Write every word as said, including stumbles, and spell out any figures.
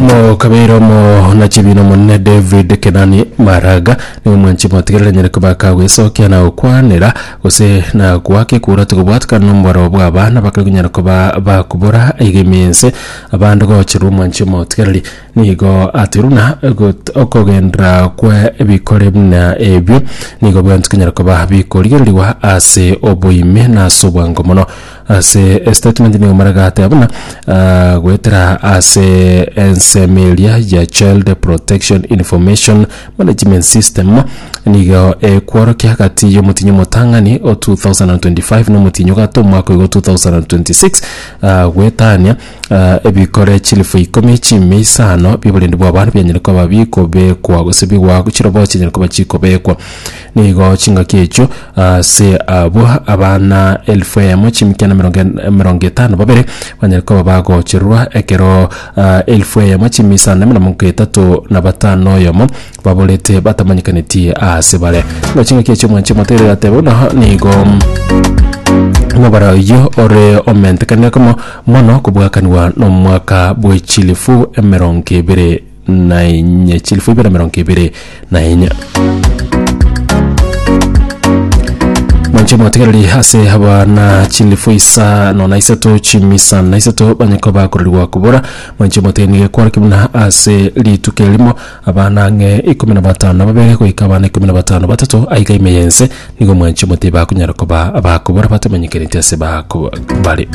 Mokabeire omonachibina omonene David Kenani Maraga nigo mwanchi motigerere nyare kobaka gwesokia na gokwanera gose na goaka ekura tigobwatikana na omobaro bwa abana bakare konyara koba bakobora iga ime ense abande gocherwa. Omwanchi omotigereri nigo aterwa buna got- okogendera kwa ebikore buna ebio nigo bwanti konyara koba bikorigereriwa ase oboime na ase obwango mono. Ase estatement nigo Maraga ateba buna ah, goetera ase ensemo eria ya Child Protection Information Management System nigo ekworokia gati y'omotinyi omotang'ani o twenty twenty-five na omotinyi ogata omwaka oigo twenty twenty-six, ah, gwetania ah, ebikore chilifu ikomi chimia isano bioborendi bwa abandu bianyare koba bikobekwa gose bigwa chirobo chinyare koba chikobekwa. Nigo chingaki echio ase abwo abana elfu eyemo chimikia na emerongo en- emerongo etano babere banyare koba bagocherwa, ekero ah, elfu eyemo chimia isano na emerongo etato na batano oyomo baborete batamanyekaneti ase bare. Nigo chingaki echio mwanchi moterere ateba buna nigo omobara oyio ore omentekanire komo mono kobwakanwa n'omwaka bwe chilifu emerongo ebere na enye, chilifu ibere emerongo ebere na enye. Mwanche motegereri, ase abana chilifu isano na isato chimia isano na isato banyeko bakorerwa kobora. Mwanche motegereri, nigo ekwarokio buna ase rituko erimo abana ang'e ikomi na batano na babere goika abana ikomi na batano batato aiga ime yense nigo mwanche mote bakonyara koba bakobora batamanyekaneti ase bako bare.